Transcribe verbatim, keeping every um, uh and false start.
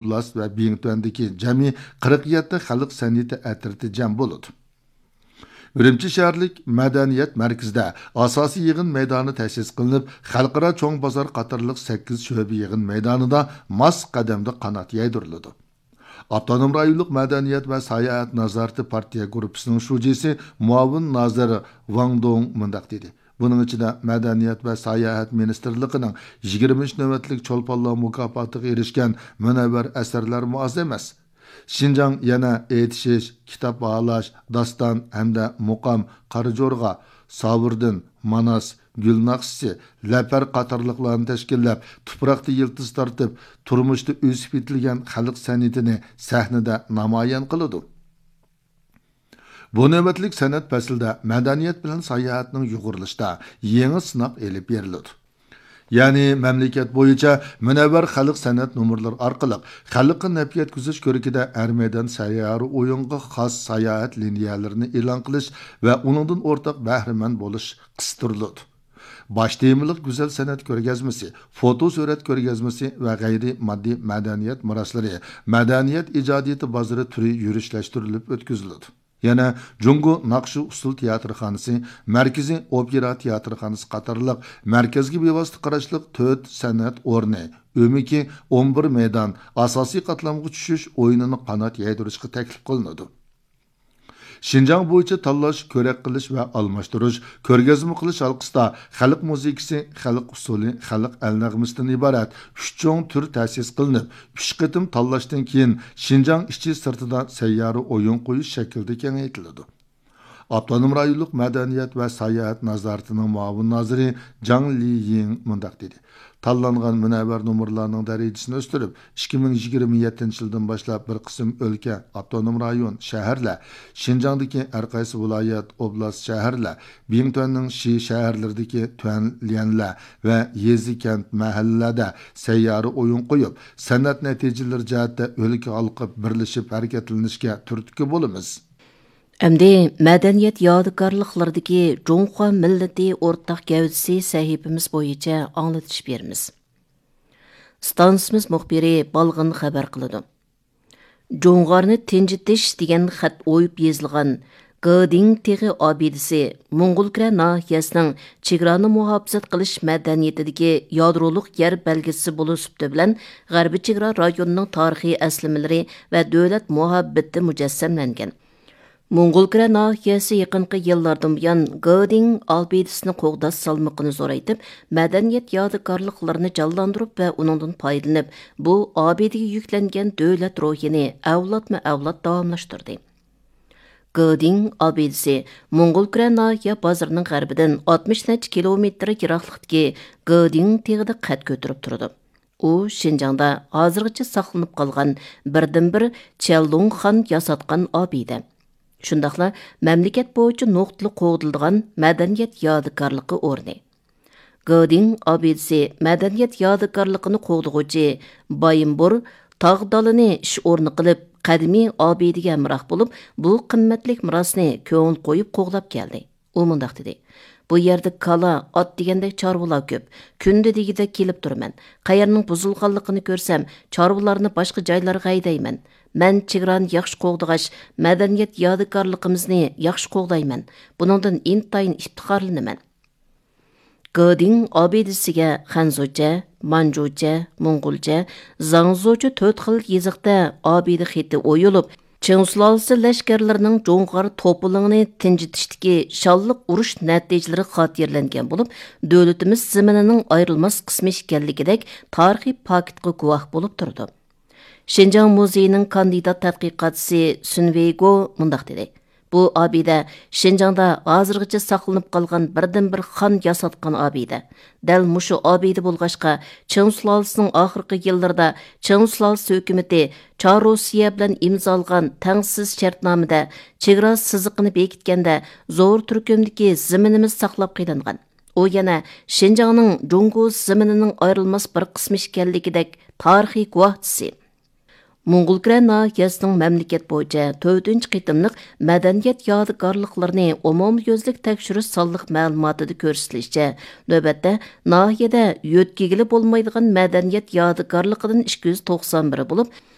ئوبلاست ۋە بىڭتۈەندىكى جەمئىي قىرىق يەتتە خەلق سەنئىتى ئەترىتى جەم بولىدۇ. ئۈرۈمچى شەھەرلىك مەدەنىيەت مەركىزىدە ئاساسىي يىغىن مەيدانى تەسىس قىلىنىپ، خەلقئارا چوڭ بازار قاتارلىق سەككىز شۆبە يىغىن مەيدانىدا ماس قەدەمدە قانات يايدۇرۇلىدۇ. ئاپتونوم رايونلۇق مەدەنىيەت ۋە ساياھەت نازارىتى پارتىيە گۇرۇپپىسىنىڭ شۇجىسى، مۇئاۋىن نازىر ۋاڭ دۇڭ مۇنداق دېدى: بۇنىڭ ئىچىدە مەدەنىيەت ۋە ساياھەت مىنىستىرلىقىنىڭ يىگىرمىنچى نۆۋەتلىك چولپانلار مۇكاپاتىغا ئېرىشكەن مۇنەۋۋەر ئەسەرلەرمۇ ئاز ئەمەس. شىنجاڭ يەنە ئېيتىشىش، كىتاب باھالاش، داستان ھەمدە مۇقام، قارا جورغا، ساۋۇردىن، ماناس، گۈل ناخشىسى، لەپەر قاتارلىقلارنى تەشكىللەپ، تۇپراقتا يىلتىز تارتىپ، تۇرمۇشتا ئۆسۈپ يېتىلگەن خەلق سەنئىتىنى سەھنىدە نامايان قىلىدۇ. بۇ نۆۋەتلىك سەنئەت پەسلىدە مەدەنىيەت بىلەن ساياھەتنىڭ يۇغۇرۇلۇشىدا يېڭى سىناق ئېلىپ بېرىلىدۇ. يەنى مەملىكەت بويىچە مۇنەۋۋەر خەلق سەنئەت نومۇرلىرى ئارقىلىق خەلققە نەپ يەتكۈزۈش كۆرىكىدە ھەر مەيدان سەييارە ئويۇنغا خاس ساياھەت لىنىيەلىرىنى ئېلان قىلىش ۋە ئۇنىڭدىن ئورتاق بەھرىمەن بولۇش قىستۇرۇلىدۇ. باش تېمىلىق گۈزەل سەنئەت كۆرگەزمىسى، فوتو سۈرەت كۆرگەزمىسى ۋە غەيرىي ماددىي مەدەنىيەت مىراسلىرى، مەدەنىيەت ئىجادىيىتى بازىرى تۈرى يۈرۈشلەشتۈرۈلۈپ ئۆتكۈزۈلىدۇ. يەنە جۇڭگو ناخشا ئۇسسۇل تىياتىرخانىسى، مەركىزىي ئوپېرا تىياتىرخانىسى قاتارلىق مەركەزگە بىۋاسىتە قاراشلىق تۆت سەنئەت ئورنى، ئۆمىكى ئون بىر مەيدان، ئاساسىي قاتلامغا چۈشۈش ئويۇنىنى قانات يايدۇرۇشقا تەكلىپ قىلىنىدۇ. شىنجاڭ بويىچە تاللاش، كۆرەك قىلىش ۋە ئالماشتۇرۇش، كۆرگەزمە قىلىش ھالقىسىدا خەلق مۇزىكىسى، خەلق ئۇسسۇلى، خەلق ئەل نەغمىسىدىن ئىبارەت ئۈچ چوڭ تۈر تەسىس قىلىنىپ، ئۈچ قېتىم تاللاشتىن كېيىن شىنجاڭ ئىچى سىرتىدا سەييارە ئويۇن قويۇش شەكلىدە كېڭەيتىلىدۇ. ئاپتونوم رايونلۇق مەدەنىيەت ۋە ساياھەت نازارىتىنىڭ مۇئاۋىن نازىرى جاڭ لىيىڭ مۇنداق دېدى: تاللانغان مۇنەۋۋەر نومۇرلارنىڭ دەرىجىسىنى ئۆستۈرۈپ، ئىككى مىڭ يىگىرمە يەتتىنچى يىلدىن باشلاپ بىر قىسىم ئۆلكە، ئاپتونوم رايون، شەھەرلەر، شىنجاڭدىكى ھەر قايسى ۋىلايەت، ئوبلاست، شەھەرلەر، بىڭتۈەننىڭ شى شەھەرلىرىدىكى تۈەنليەنلەر ۋە يېزا، كەنت، مەھەللىلەردە سەييارە ئويۇن قويۇپ، سەنئەت نەتىجىلىرى جەھەتتە ئۆلكە ھالقىپ بىرلىشىپ ھەرىكەتلىنىشكە تۈرتكە بولىمىز. ئەمدى مەدەنىيەت يادىكارلىقلىرىدىكى جۇڭخۇا مىللىتى ئورتاق گەۋدىسى سەھىپىمىز بويىچە ئاڭلىتىش بېرىمىز. ئىستانسىمىز مۇخبىرى بالغىن خەۋەر قىلىدۇ. جۇڭغارنى تىنجىتىش دېگەن خەت ئويۇپ يېزىلغان گېدىڭ تېغى ئابىدىسى موڭغۇلكۈرە ناھىيەسىنىڭ چېگرانى مۇھاپىزەت قىلىش مەدەنىيىتىدىكى يادرولۇق يەر بەلگىسى بولۇش سۈپىتى بىلەن غەربىي چېگرا رايونىنىڭ تارىخىي ئەسلىمىلىرى ۋە دۆلەت مۇھەببىتى مۇجەسسەملەنگەن. موڭغۇلكۈرە ناھىيەسى يېقىنقى يىللاردىن بۇيان گېدىڭ ئابىدىسىنى قوغداش سالمىقىنى زورايتىپ، مەدەنىيەت يادىكارلىقلىرىنى جانلاندۇرۇپ ۋە ئۇنىڭدىن پايدىلىنىپ، بۇ ئابىدىگە يۈكلەنگەن دۆلەت روھىنى ئەۋلادمۇ ئەۋلاد داۋاملاشتۇردى. گېدىڭ ئابىدىسى موڭغۇلكۈرە ناھىيە بازىرىنىڭ غەربىدىن ئاتمىش نەچچە كىلومېتىر يىراقلىقتىكى گېدىڭ تېغىدا قەد كۆتۈرۈپ تۇرىدۇ. ئۇ شىنجاڭدا ھازىرغىچە ساقلىنىپ قالغان بىردىنبىر چيەنلۇڭ خان ياساتقان ئابىدە. شۇنداقلا مەملىكەت بويىچە نۇقتىلىق قوغدىلىدىغان مەدەنىيەت يادىكارلىقى ئورنى. گېدىڭ ئابىدىسى مەدەنىيەت يادىكارلىقىنى قوغدىغۇچى بايىنبۇر تاغ دالىنى ئىش ئورنى قىلىپ، قەدىمىي ئابىدىگە ھەمراھ بولۇپ، بۇ قىممەتلىك مىراسنى كۆڭۈل قويۇپ قوغلاپ كەلدى. ئۇ مۇنداق دېدى: بۇ يەردە كالا، ئات دېگەندەك چارۋىلار كۆپ. كۈندە دېگۈدەك كېلىپ تۇرىمەن. قەيەرنىڭ بۇزۇلغانلىقىنى كۆرسەم، چارۋىلارنى باشقا جايلارغا ھەيدەيمەن. مەن چېگرانى ياخشى قوغدىغاچ، مەدەنىيەت يادىكارلىقىمىزنى ياخشى قوغدايمەن. بۇنىڭدىن ئىنتايىن ئىپتىخارلىنىمەن. گېدىڭ ئابىدىسىگە خەنزۇچە، مانجۇچە، موڭغۇلچە، زاڭزۇچە تۆت خىل يېزىقتا ئابىدە خېتى ئويۇلۇپ، چىڭ سۇلالىسى لەشكەرلىرىنىڭ جۇڭغار توپىلىڭىنى تىنجىتىشتىكى شانلىق ئۇرۇش نەتىجىلىرى خاتىرىلەنگەن بولۇپ، دۆلىتىمىز زېمىنىنىڭ ئايرىلماس قىسمى ئىكەنلىكىدەك تارىخىي پاكىتقا گۇۋاھ بولۇپ تۇرىدۇ. شىنجاڭ مۇزېيىنىڭ كاندىدات تەتقىقاتچىسى سۈن ۋېيگو مۇنداق دېدى: بۇ ئابىدە شىنجاڭدا ھازىرغىچە ساقلىنىپ قالغان بىردىنبىر خان ياساتقان ئابىدە. دەل مۇشۇ ئابىدە بولغاچقا، چىڭ سۇلالىسىنىڭ ئاخىرقى يىللىرىدا چىڭ سۇلالىسى ھۆكۈمىتى چار روسىيە بىلەن ئىمزالىغان تەڭسىز شەرتنامىدە چېگرا سىزىقىنى بېكىتكەندە زور تۈركۈمدىكى زېمىنىمىز ساقلاپ قېلىنغان. ئۇ يەنە شىنجاڭنىڭ جۇڭگو زېمىنىنىڭ ئايرىلماس بىر قىسمى ئىكەنلىكىدەك تارىخىي گۇۋاھچىسى. موڭغۇلكۈرە ناھىيەسىنىڭ مەملىكەت بويىچە تۆتىنچى قېتىملىق مەدەنىيەت يادىكارلىقلىرىنى ئومۇميۈزلۈك تەكشۈرۈش سانلىق مەلۇماتىدا كۆرسىتىلىشىچە، نۆۋەتتە ناھىيەدە يۆتكىگىلى بولمايدىغان مەدەنىيەت يادىكارلىقىدىن ئىككى يۈز توقسان بىرى بولۇپ،